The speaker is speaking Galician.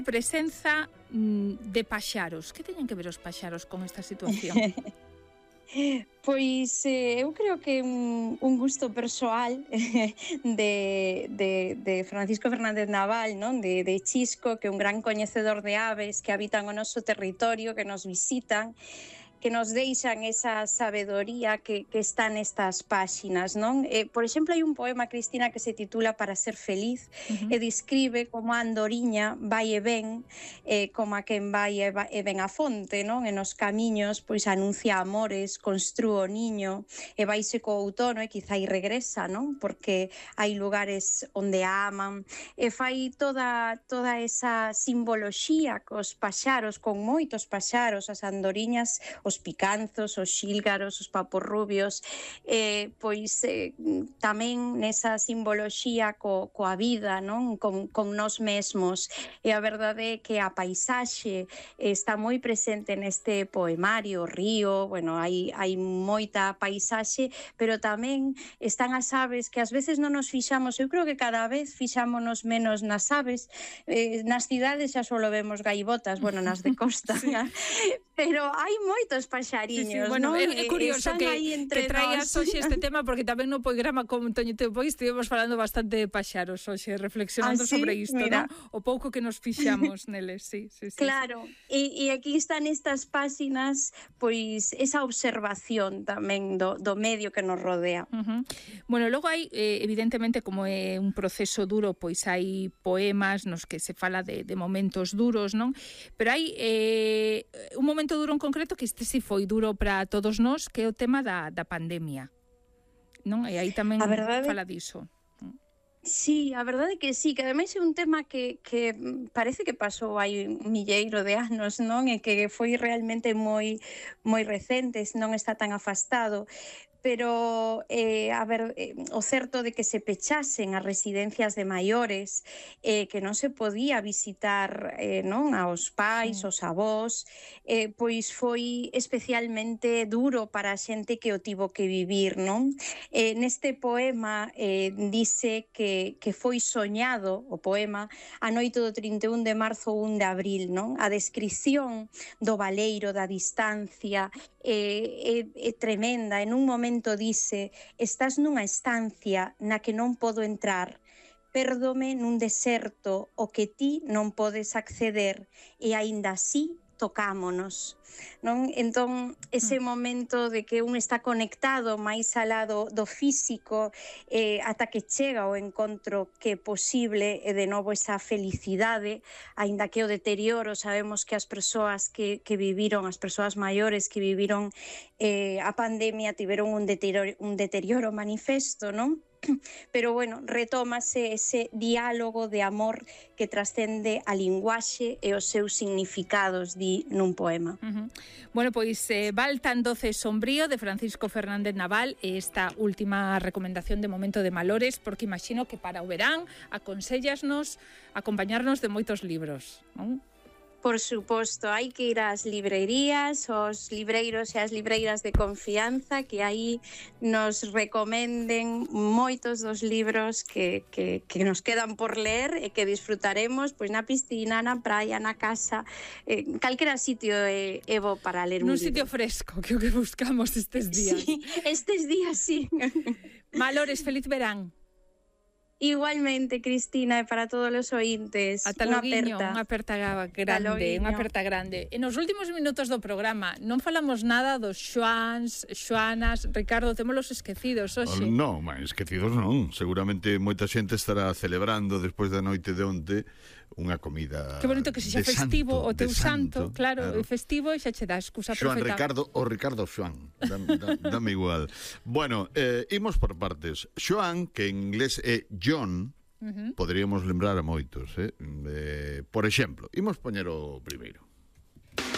presenza de paxaros. Que teñen que ver os paxaros con esta situación? Pois eu creo que un gusto persoal de Francisco Fernández Naval, non? De Chisco, que é un gran coñecedor de aves que habitan o noso territorio, que nos visitan, que nos deixan esa sabedoría que está nestas páxinas, non? Por exemplo, hai un poema, Cristina, que se titula Para ser feliz, e describe como a andoriña vai e ven, como a quen vai e ven a fonte, non? E nos camiños, pois, anuncia amores, construo o niño, e vaise co outono e quizá regresa, non? Porque hai lugares onde a aman, e fai toda esa simboloxía cos paxaros, con moitos paxaros, as andoriñas, os picanzos, os xílgaros, os paporrubios, pois tamén nesa simboloxía coa vida, non? Con nós mesmos. E a verdade é que a paisaxe está moi presente neste poemario, o río, bueno, hai moita paisaxe, pero tamén están as aves que ás veces non nos fixamos, eu creo que cada vez fixámonos menos nas aves, nas cidades xa só vemos gaivotas, bueno, nas de costa, sí. Pero hai moitos paxariños, sí, bueno, non? É curioso que traías hoxe este tema, porque tamén no programa con Toño Teupois estivemos falando bastante de paxaros hoxe, reflexionando sobre isto, non? O pouco que nos fixamos neles, sí. Claro, e aquí están estas páxinas, pois esa observación tamén do medio que nos rodea. Bueno, logo hai, evidentemente, como é un proceso duro, pois hai poemas nos que se fala de momentos duros, non? Pero hai un momento duro en concreto que este si foi duro para todos nós, que é o tema da pandemia, non? E aí tamén fala diso. Sí, a verdade é que sí, que ademais é un tema que parece que pasou hai un milleiro de anos, non? E que foi realmente moi recente, non está tan afastado. Pero, o certo de que se pechasen as residencias de maiores, que non se podía visitar non aos pais, os avós, pois foi especialmente duro para a xente que o tivo que vivir, non? Neste poema dice que foi soñado, o poema, a noite do 31 de marzo ou 1 de abril, non? A descripción do baleiro, da distancia, é tremenda. En un momento dice: estás nunha estancia na que non podo entrar, pérdome nun deserto o que ti non podes acceder, e aínda así tocámonos, non? Entón, ese momento de que un está conectado máis alá do físico, ata que chega o encontro que é posible, e de novo esa felicidade, aínda que o deterioro, sabemos que as persoas que viviron, as persoas maiores que viviron a pandemia, tiveron un deterioro manifesto, non? Pero, bueno, retómase ese diálogo de amor que trascende a linguaxe e os seus significados, di nun poema. Bueno, pois Val tan doce e sombrío, de Francisco Fernández Naval, e esta última recomendación de momento de Malores, porque imagino que para o verán aconsellasnos acompañarnos de moitos libros, non? Por suposto, hai que ir ás librerías, aos libreiros e as libreiras de confianza, que aí nos recomenden moitos dos libros que nos quedan por ler e que disfrutaremos pois na piscina, na praia, na casa, calquera sitio é bo para ler un libro. Nun sitio fresco, que o que buscamos estes días. Sí, estes días, sí. Malores, feliz verán. Igualmente, Cristina, e para todos os ointes. Ata loguiño, unha aperta grande. E nos últimos minutos do programa non falamos nada dos Xoans, Xoanas. Ricardo, témolos esquecidos hoxe. Non, esquecidos non. Seguramente moita xente estará celebrando despois da noite de onte unha comida. Que bonito que sexa festivo o teu santo, claro, festivo, e xa che dá excusa perfecta. Ricardo Xoan, dame igual. Bueno, imos por partes. Xoan, que en inglés é John, poderíamos lembrar a moitos, por exemplo, imos poñer o primeiro.